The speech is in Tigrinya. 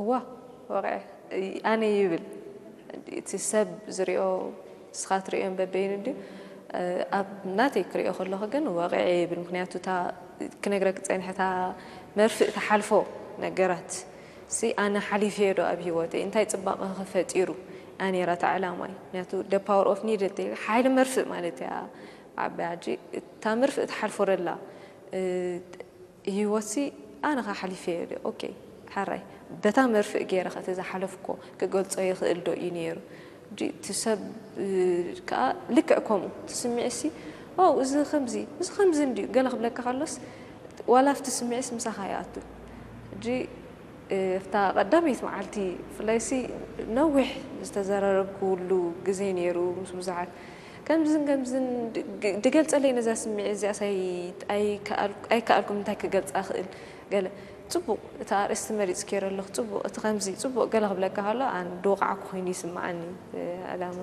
ዋ፣ ወቕዐ ኣነ ይብል። እቲ ሰብ ዝሪኦ፣ ንስኻ ትሪኦን በበይኑ ድዩ? ኣብ ናተይ ክሪኦ ከለኹ ግን ወቕዐ ይብል። ምክንያቱ እታ ክነግረክ ዝጸንሐ እታ መርፍእ ትሓልፎ ነገራት ሲ ኣነ ሓሊፈዮ ዶ ኣብ ህይወተይ? እንታይ ጽባቐ ከ ፈጢሩ? እያ ነይራ እታ ዕላማይ። ምክንያቱ the power of needle፣ ሓይሊ መርፍእ ማለት እያ። ዓባይ ሕጂ እታ መርፍእ ትሓልፎ ደላ ህይወትሲ ኣነ ኸ ሓሊፈዮ ድየ? ኦኬ፣ ሓራይ በታ መርፍእ ገይረ ኸ እቲ ዝሓለፍኮ ክገልጾ ይኽእል ዶ እዩ ነይሩ? ሕጂ እቲ ሰብ ከዓ ልክዕ ከምኡ እቲ ስምዒትሲ ዋው፣ እዚ ከምዚ፣ እዚ ከምዚ እንድዩ ገለ ክብለካ ከሎስ ዋላ ኣብቲ ስምዒትስ ምሳኻ ይኣቱ። ሕጂ ኣብታ ቀዳመይቲ መዓልቲ ብፍላይሲ ነዊሕ ዝተዘራረብኩሉ ግዜ ነይሩ ምስ ብዙሓት ከምዝን ከምዝን ድገልጸለይ ነዛ ስምዒት እዚኣስ ኣይከኣልኩም እንታይ ክገልጻ ክእል ገለ ጽቡቕ እታ ኣርእስቲ መሪጽ ከይረ ኣለኹ ጽቡቕ እቲ ከምዚ ጽቡቕ ገለ ክብለካ ከሎ ኣን ድወቃዕኩ ኮይኑ ይስምዓኒ ዕላማ